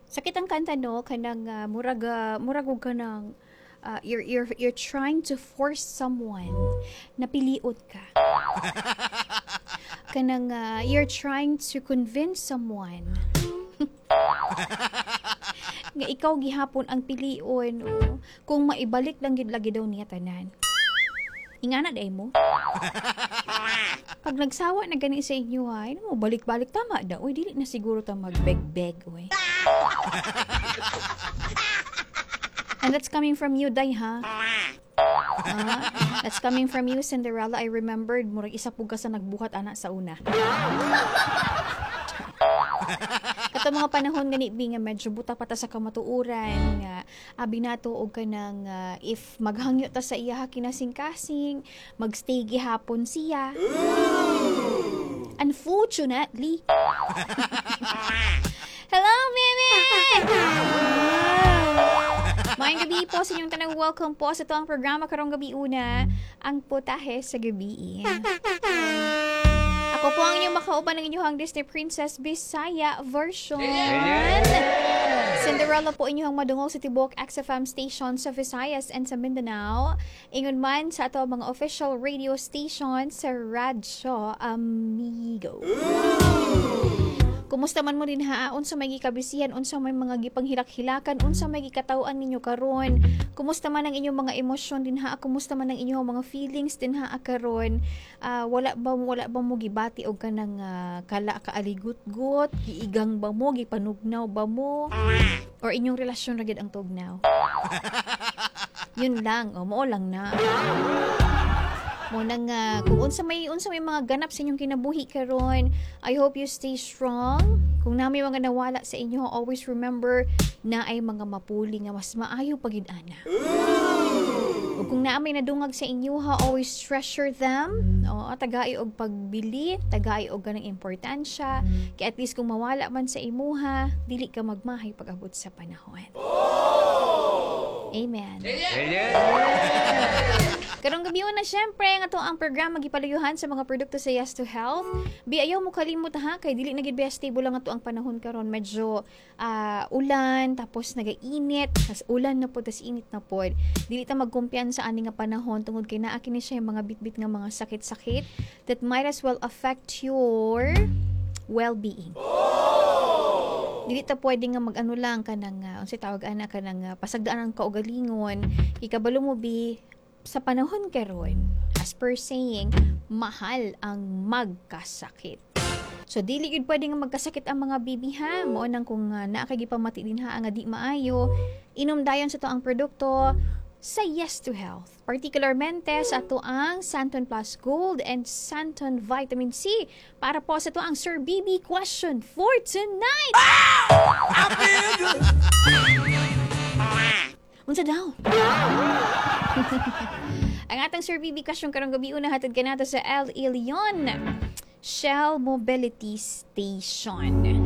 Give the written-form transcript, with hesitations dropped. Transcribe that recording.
Sakit ang kanta, no? Kanang murag murag og kanang you're trying to force someone na piliot ka. Kanang you're trying to convince someone nga ikaw gihapon ang pilion, oh. Kung maibalik lang gid lagi daw niya tanan. Ingana day mo. Pag nagsawa na gani sa inyo ha, mo balik-balik tama daw. Uy, dili na siguro ta magbeg-beg, uy. And that's coming from you, Day, ha? Ah, that's coming from you, Cinderella. I remembered, murag isa pug ka sa nagbuhat ana sa una. Kato mga panahon gani bi nga medyo buta pa ta sa kamatuoran nga abi nato og kanang if maghangyo ta sa iya kinasing-kasing, magstay gihapon siya. Unfortunately. Hello, Mimi! Maayong gabi po sa inyong tanang. Welcome po sa atoang programa karong gabi una, ang Putahe sa Gabi. Ako po ang inyong makauban, ng inyong Disney Princess Bisaya version. Cinderella po inyong madungog sa tibuok XFM station sa Visayas and sa Mindanao. Ingon man sa ato mga official radio station sa Radyo Amigo. Kumusta man mo din ha? Unsa may gikabisihan, unsa may mga gipanghilak-hilakan, unsa may gikataw-an ninyo karon? Kumusta man ang inyong mga emosyon din ha? Kumusta man ang inyong mga feelings din ha karon? Wala ba mo gibati og kanang kala kaaligut-gut, giigang ba mo, gipanugnaw ba mo? Or inyong relasyon ra gid ang tugnaw? Yun lang, oh, mao lang na. Mo nang kung unsa may mga ganap sa inyong kinabuhi karon, I hope you stay strong. Kung naa may mga nawala sa inyo, always remember na ay mga mapuli nga mas maayo pagid ana. Ug kung naa may nadungag sa inyo ha, always treasure them. Oo, tagai og pagbili, tagai og ganang importansya. Kaya at least kung mawala man sa imuha, dili ka magmahay pag-abot sa panahon. Amen. Karong gabi na, syempre, nga to ang programa gipalayuhan sa mga produkto sa Yes to Health. Bi, ayaw mo kalimot ha, kay dili na gid best stable lang ato ang panahon karon, medyo ulan tapos nagainit, tas ulan na pod, tas init na pod. Dili ta magkumpiyansa ani nga panahon tungod kay naa kini siya yung mga bitbit nga mga sakit-sakit that might as well affect your well-being. Dili ta pwede nga mag-ano lang kanang unsay tawag ana, kanang pasagdaan ang kaugalingon. Ikabalo mo bi sa panahon karon, as per saying, mahal ang magkasakit. So dili gyud pwede nga magkasakit ang mga bibi ha. Mao nang kung naa kay gipamati din ha nga di maayo, inom dayon sa to ang produkto sa Yes to Health. Particularmente sa ato ang Santon Plus Gold and Santon Vitamin C para po sa ato ang Sir BB question for tonight. Unsa daw? Ang atong Sir BB question karong gabi una, hatod kanato sa El Ilion Shell Mobility Station.